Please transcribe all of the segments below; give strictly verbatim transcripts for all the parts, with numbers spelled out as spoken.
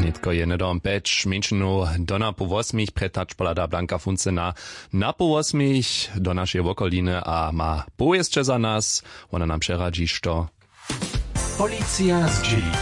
Nětko je hnydom pjeć mjeńšinow do napoł wosmich. Před hač pohlada Blanka Funce na napoł wosmich do našeje wokoliny a ma powěsće za nas. Wona nam přeradźi što. Policija zdźěli.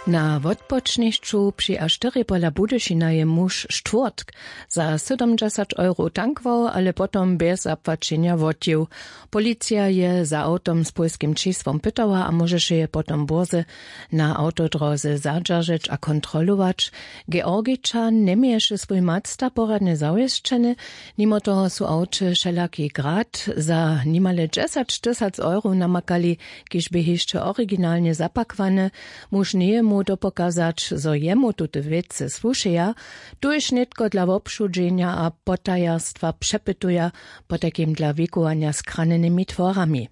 Na wotpočnišću při a štyri pola Budyšina je muž štwórtk za sydomdźesać euro tankował, ale potom bjez zapłaćenja wotjił. Policija je za awtom z pólskim čisłom pytała a móžeše je potom bórze na awtodróze zadźeržeć a kontrolować. Georgičan njeměješe swój master poradnje zawěsćeny. Nimo toho su awće wšelaki grad za nimale dźesać tysac euro namakali, kiž bě hišće originalnje zapakowany. Muž njeje móhł dopokazać, zo jemu tute wěcy słušeja. Tuž nětko dla wobšudźenja a potajerstwa přepytuja, potajkim dla wikowanja z kranjenymi tworami.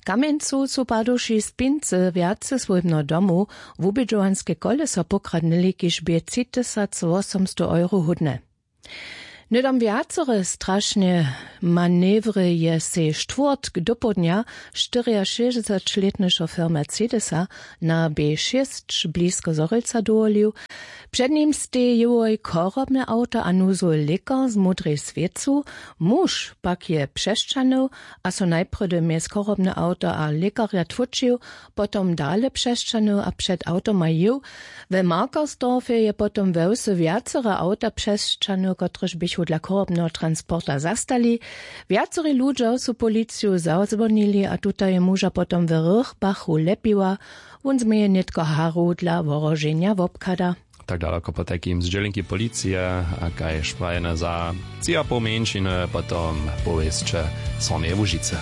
W Kamjencu su paduši spincy wjace swójbneho domu wubědźowanske koleso pokradnyli, kiž bě tři tysac wosomstow euro hódne. Hnydom wjacore strašne manewry je sej štwórtk dopołdnja štyriašěsćdźesatletny šofér mercedesa na b šěsć blisko zhorjelca dowolił. Před nim stej jěhoj chorobne awto a nuzowy lěkar z módrej swěcu. Muž pak je přesćahnył a so najprjedy mjez chorobne awto a lěkarja tłóčił, potom dale přesćahnył a před awtomaj jěł. We Markersdorfje je potom we wsy wjacore awta přesćahnył, kotrež běchu dla chorobneho transporta zastali. Wjacorej ludźo su policiju zazwonili a tuta je muža potom we Rýchbachu lepiła. Wón změje nětko haru dla wohroženja wobchada. Tak daloko potajkim zdźělenki policije. A kaž prajene, za tři a poł mjeńšiny potom powěsće z Hornjeje Łužicy.